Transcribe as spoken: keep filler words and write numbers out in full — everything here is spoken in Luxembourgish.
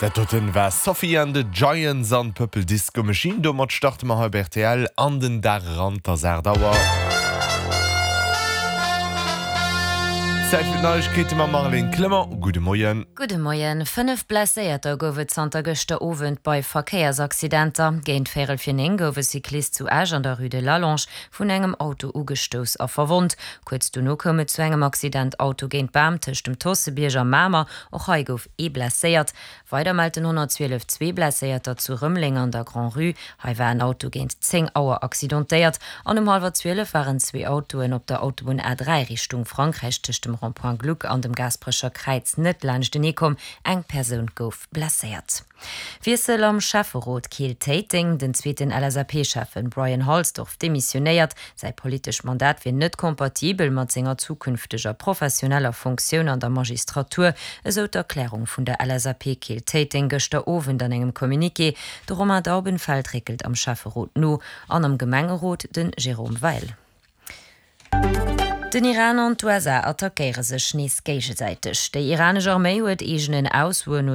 Dat doten war Sophie and the Giants an Purple Disco Machine. Domat starte mer hei bei rtl an den Dag eran, 't ass aacht Auer. Zäit fir d'Neiegkeete mam Marlène Clement. Gudde Moien. Gudde Moien. Fënnef Blesséierter gouf et zanter gëschter Owend bei Verkéiersaccidenter. Géint véierel vir néng gouf e Cyclist zu Esch an der Rue de Lallange vun engem Auto ugestouss a verwonnt. Kuerz dono koum et zu engem Accident Auto géint Bam tëscht dem Tossebierg a Mamer. Och hei gouf ee blesséiert. Weider mellt den honnertzwielef zwee Blesséierter zu Rëmeleng an der Grand-Rue. Hei war en Auto géint zéng Auer accidentéiert an um hallwer zwielef waren zwee Autoen op der Autobunn A dräi Richtung Frankräich tëscht dem Rond-point Gluck an dem Gaasperecher Kräiz net laanschtenee komm. Eng Persoun gouf blesséiert. Wiessel am Schäfferot Keel-Téiteng, Den zweeten L S A P-Schäffen Brian Halsdorf demissionéiert. Säi politescht Mandat wier net kompatibel mat senger zukünfteger professioneller Funktioun an der Magistratur, esou d'Erklärung vun der L S A P Keel-Téiteng gëschter Owend an engem Communiqué. De Romain Daubenfeld réckelt am Schäfferot no an am Gemengerot de Jérôme Weil. Den Iran an d'U S A attackéiere sech nees géigesäiteg. Déi iranesch Arméi huet eegenen Aussoen no